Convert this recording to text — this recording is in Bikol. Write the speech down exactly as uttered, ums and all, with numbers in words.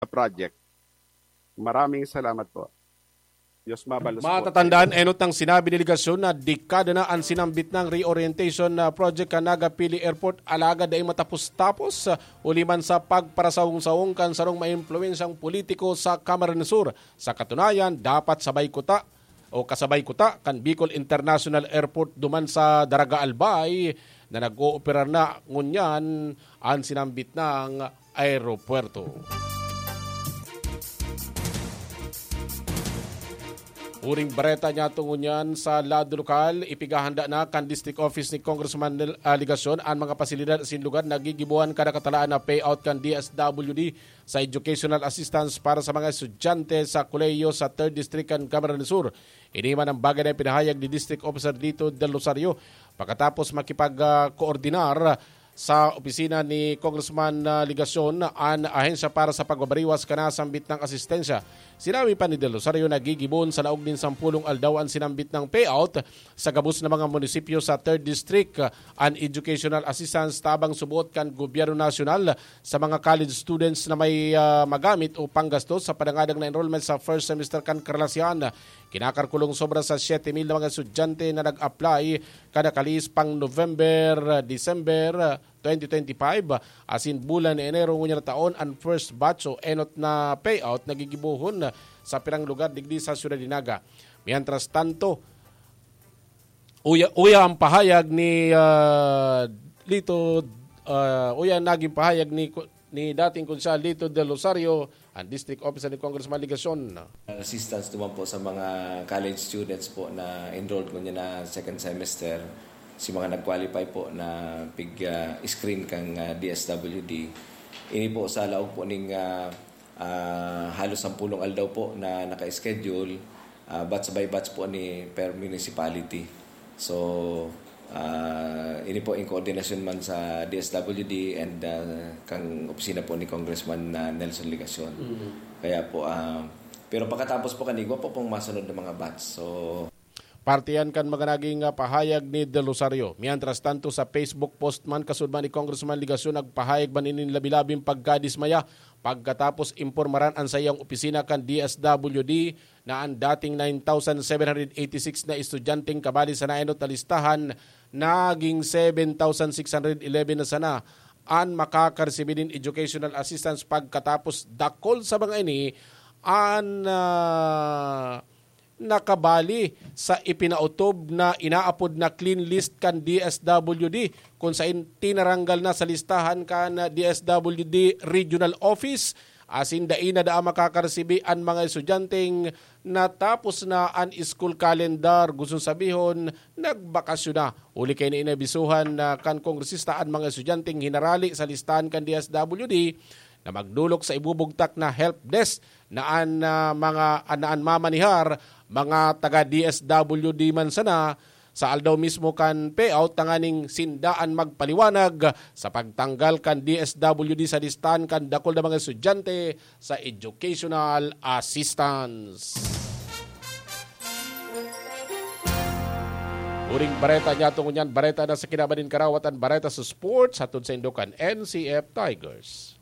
project. Maraming salamat po. Diyos mabalos po. Matatandaan, enot ang sinabi ni Legacion na dekada na an sinambit nang reorientation na project kan Naga Pili Airport, alagad dai matapos-tapos, huli man sa pagparasawong-sawong kan sarong maimpluwensyang politiko sa Camarines Sur. Sa katunayan, dapat sabay kuta o kasabay kuta kan Bicol International Airport duman sa Daraga Albay na nag-ooperar na ngunyan an sinambit nang aeropuerto. Huring bareta niyato ngunyan sa lado lokal, ipighahanda na kan District Office ni Congressman Nel-, ah, Legacion an mga pasilidad asin lugar na gigibohan kada katalaan na payout kan D S W D sa educational assistance para sa mga estudyante sa kolehiyo sa Third District kan Camarines Sur. Ini man ang bagay na ipinahayag ni District Officer Lito Del Rosario pakatapos makipag, ah, koordinar sa opisina ni Congressman, ah, Legacion an ahensya para sa pagbabariwas kan nasambit nang asistensya. Sinabi pa ni Del Rosario na gigibon sa laog nin sampulong aldaw an sinambit nang payout sa gabos na mga munisipyo sa Third District, ah, an educational assistance tabang suboot kan gobyerno nasyonal sa mga college students na may, ah, magamit o panggastos sa padangadang na enrollment sa first semester kan karelasyon. Kinakalkulong sobra sa siyete mil na mga estudyante na nag-apply kada kalis pang November, December twenty twenty-five, asin bulan na Enero ngunyan na taon an first batch o enot na payout na gigibohon sa pirang lugar digdi sa siyudad ni Naga. Mientras tanto, uya, uya ang pahayag ni, ah, Lito, ah, uya ang naging pahayag ni, ni dating Konsehal Lito Del Rosario, ang district officer ni Congressman Legacion. Assistance naman po sa mga college students po na enrolled ngunyan na second semester, si mga nag-qualify po na pig, ah, screen kang, ah, D S W D. Ini po sa laog po ning, ah, ah, halos sampulong aldaw po na naka-schedule, ah, batch by batch po ni per municipality. So, ah, ini po in coordination man sa D S W D and, ah, kang opisina po ni Congressman, ah, Nelson Legacion. Mm. Kaya po, ah, pero pagkatapos po kan igwa po pong masunod na mga batch. So, parte yan kan mga naging, ah, pahayag ni Del Rosario. Mientras tanto, sa Facebook post man, kasunod man ni Congressman Legacion nagpahayag man nin labi-labing pagkadismaya pagkatapos impormaran an saiyang opisina kan D S W D na an dating nine thousand seven hundred eighty-six na estudyanteng kabali sa naenot na listahan, naging seven thousand six hundred eleven na sana an makakaresibi nin educational assistance pagkatapos dakul sa mga ini an, ah, nakabali sa ipinaotob na inaapod na clean list kan D S W D, kun sain tinaranggal na sa listahan kan D S W D Regional Office, asin dai na daa makakaresibi an mga estudyanteng natapos na an school calendar, gusto sabihon, nagbakasyon na. Huli kaini inabisuhan na kan kongresista an mga estudyanteng hinarali sa listahan kan D S W D na magdolok sa ibubugtak na help desk na an, ah, mga, na an mamanihar, mga taga D S W D man sana, sa aldaw mismo kan payout tanganing sinda an magpaliwanag sa pagtanggal kan D S W D sa listahan kan dakul na mga estudyante sa educational assistance. Huring bareta niyato ngunyan, bareta na sa kinaban nin karawatan, bareta sa sports, hatod saindo kan N C F Tigers.